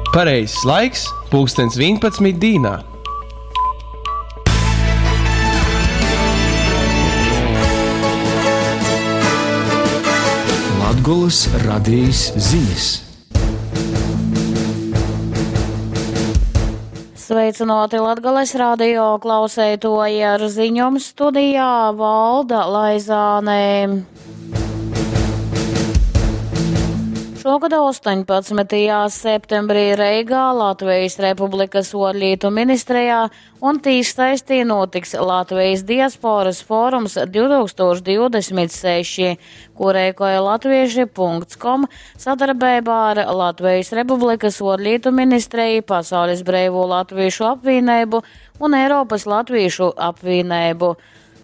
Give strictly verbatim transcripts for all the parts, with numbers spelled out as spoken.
Pareizais laiks – pulkstens vienpadsmit dīnā. Latgolys radejis zinis. Sveicināti Latgales radio klauseitoji ar ziņom studijā Valda Laizāne. Šogad astoņpadsmitajā septembrī Reigā Latvijas Republikas Orlītu ministrijā un tīšsaistī notiks Latvijas diasporas forums divi tūkstoši divdesmit seši, ko rēkoja latvieši punkts com sadarbībā ar Latvijas Republikas Orlītu ministriju, Pasaules Breivo Latviešu apvienību un Eiropas Latviešu apvienību.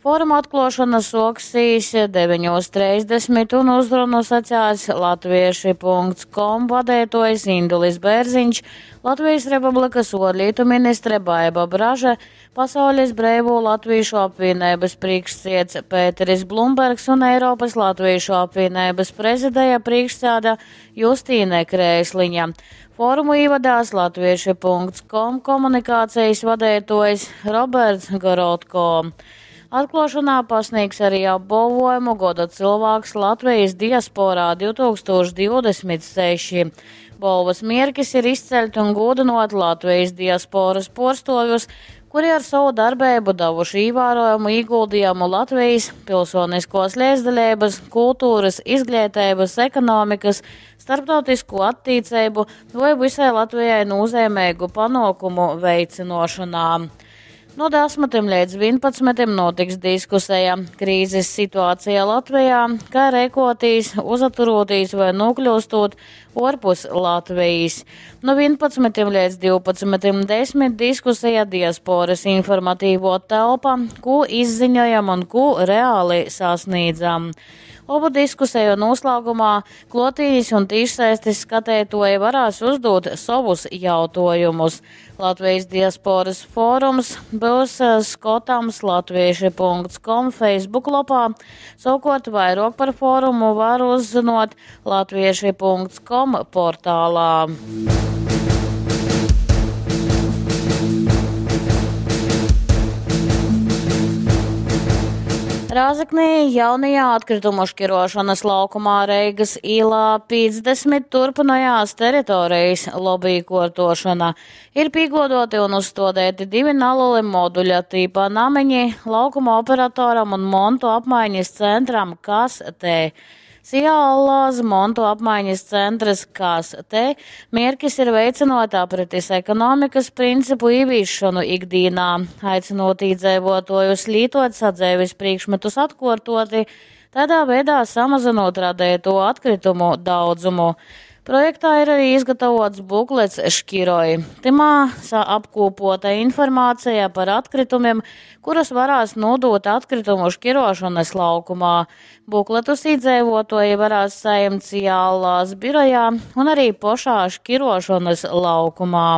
Foruma atklāšana soksīs deviņos trīsdesmit un uzrunu sacās latvieši punkts com vadētojs Indulis Bērziņš, Latvijas Republikas Orlītu ministre Baiba Braže, Pasaules Breivo Latviešu apvienības priekšsiets Pēteris Blumbergs un Eiropas Latviešu apvienības prezidēja priekšsēda Justīne Krēsliņa. Forumu ievadās latvieši punkts com komunikācijas vadētojs Roberts Gorodko. Atklāšanā pasniegs arī apbalvojumu Goda cilvēks Latvijas diasporā divi tūkstoši divdesmit seši. Balvas mierkis ir izceļt un godinot Latvijas diasporas porstovjus, kuri ar savu darbību devuši ievērojumu ieguldījumu Latvijas pilsoniskos līdzdalības, kultūras, izglītības, ekonomikas, starptautisko attīcību vai visai Latvijai nozīmīgu panākumu veicinošanā. No desmitiem līdz vienpadsmitiem notiks diskusija krīzes situācija Latvijā, kā rēkotīs, uzaturotīs vai nokļūstot orpus Latvijas. No vienpadsmitiem līdz divpadsmitiem desmit diskusija diasporas informatīvo telpa, ko izziņojam un ko reāli sasniedzam. Obu diskusiju noslēgumā klotīņas un tīšsaistes skatētoji varēs uzdot savus jautājumus. Latvijas diasporas fórums būs, eh, skatams latvieši punkts com Facebook lapā. Savukārt vairāk par fórumu var uzzinot latvieši punkts com portālā. Rāzaknī jaunajā atkritumu šķirošanas laukumā Reigas ielā piecdesmit turpinājās teritorijas lobīkortošana. Ir pīgodoti un uzstādīti divi nelieli moduļa tīpa namiņi laukuma operatoram un montu apmaiņas centram Kas T. Sijālās montu apmaiņas centrs Kas T. Mierkis ir veicinot aprites ekonomikas principu ievīšanu ikdienā, aicinot iedzīvotājus lītot sadzēvis priekšmetus atkārtoti, tādā veidā samazinot radēto atkritumu daudzumu. Projektā ir arī izgatavots buklets Škiroj. Timā apkopota informācija par atkritumiem, kurus varēs nodot atkritumu šķirošanas laukumā. Bukletus iedzīvotāji varēs saņemt Ciālās birojā un arī pašā šķirošanas laukumā.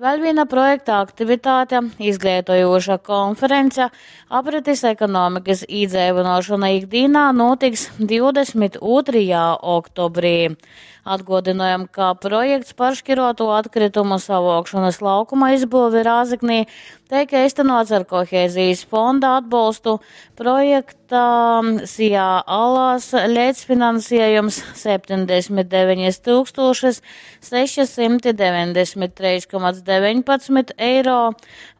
Vēl viena projekta aktivitāte – izglītojoša konference aprites ekonomikas iedzīvināšana ikdienā notiks divdesmit otrajā oktobrī. Atgādinājam, ka projekts par šķiroto atkritumu savākšanas laukuma izbūvi Rāzaknī tiek īstenots ar kohēzijas fonda atbalstu. Projekta Sijā Alās līdzfinansējums septiņdesmit deviņas tūkstošas sešsimti deviņdesmit trīs komats deviņpadsmit eiro,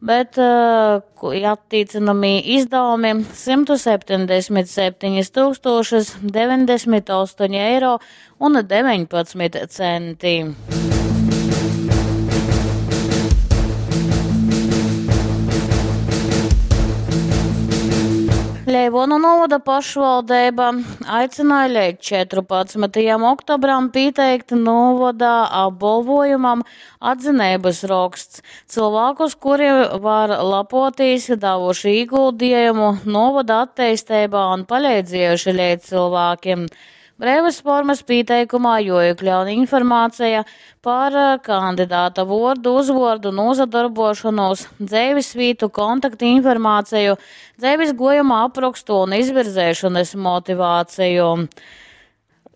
bet, eh, atticinamie izdevumi simtu septiņdesmit septiņas tūkstošas deviņdesmit astoņi eiro un deviņpadsmit centi. Leivonu novada pašvaldība aicināja līdz četrpadsmitajam oktobram pieteikt novada apbalvojumam atzinības raksts. Cilvēkus, kuri var lepoties, devuši ieguldījumu novada attīstībā un palīdzējuši līdz cilvēkiem. Brīvas formas pieteikumā joiekļaun informācija par kandidāta vordu, uzvordu, nozadarbošanos, dzīvesvietu, kontaktu informāciju, dzīves gojuma aprakstu un izvirzēšanas motivāciju.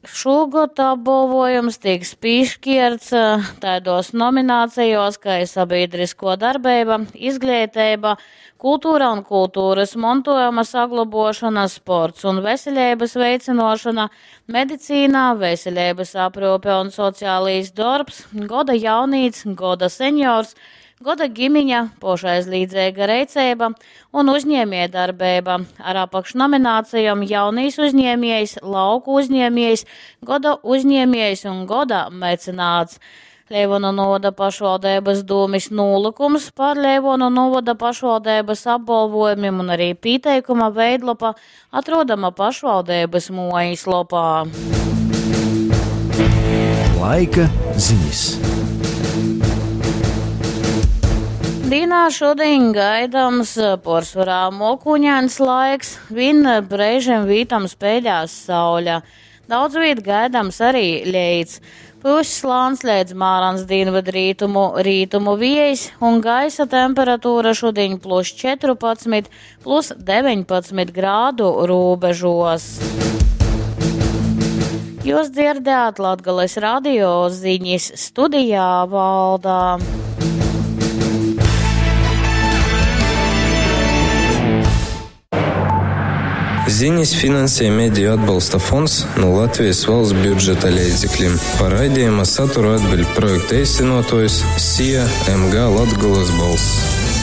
Šūgod apbolvojums tiks pieškierts taidos nominācijos, kā sabiedrisko darbība, izglītība, kultūra un kultūras mantojuma saglabošana, sports un veselības veicinošana, medicīnā, veselības aprūpe un sociālais darbs, goda jaunīts, goda seniors, goda ģimiņa, pošaizlīdzīga reiceiba un uzņēmējdarbība ar apakšnominācijām jaunīs uzņēmējs, lauku uzņēmējs, goda uzņēmējs un goda mecenāts. Leivonu novada pašvaldības dūmis nūlikums par Leivonu novada pašvaldības apbalvojumiem un arī pieteikuma veidlapa atrodama pašvaldības mojas lopā. Laika ziņas. Dīnā šodien gaidams porcelāna mokuņains laiks, vien brīžiem vītam spēļās saule. Daudz viet gaidams arī leits. Pusslāns līdz mārans dienvidrītumu rītumu viejs un gaisa temperatūra šodien plus četrpadsmit, plus deviņpadsmit grādu robežos. Jūs dzirdējāt Latgales radio ziņas studijā Valdā. Ziņas finansē Mediju atbalsta fonds no Latvijas valsts budžeta līdzekļiem. Par raidījuma saturu atbild projekta īstenotājs S I A M G Latgolas balss.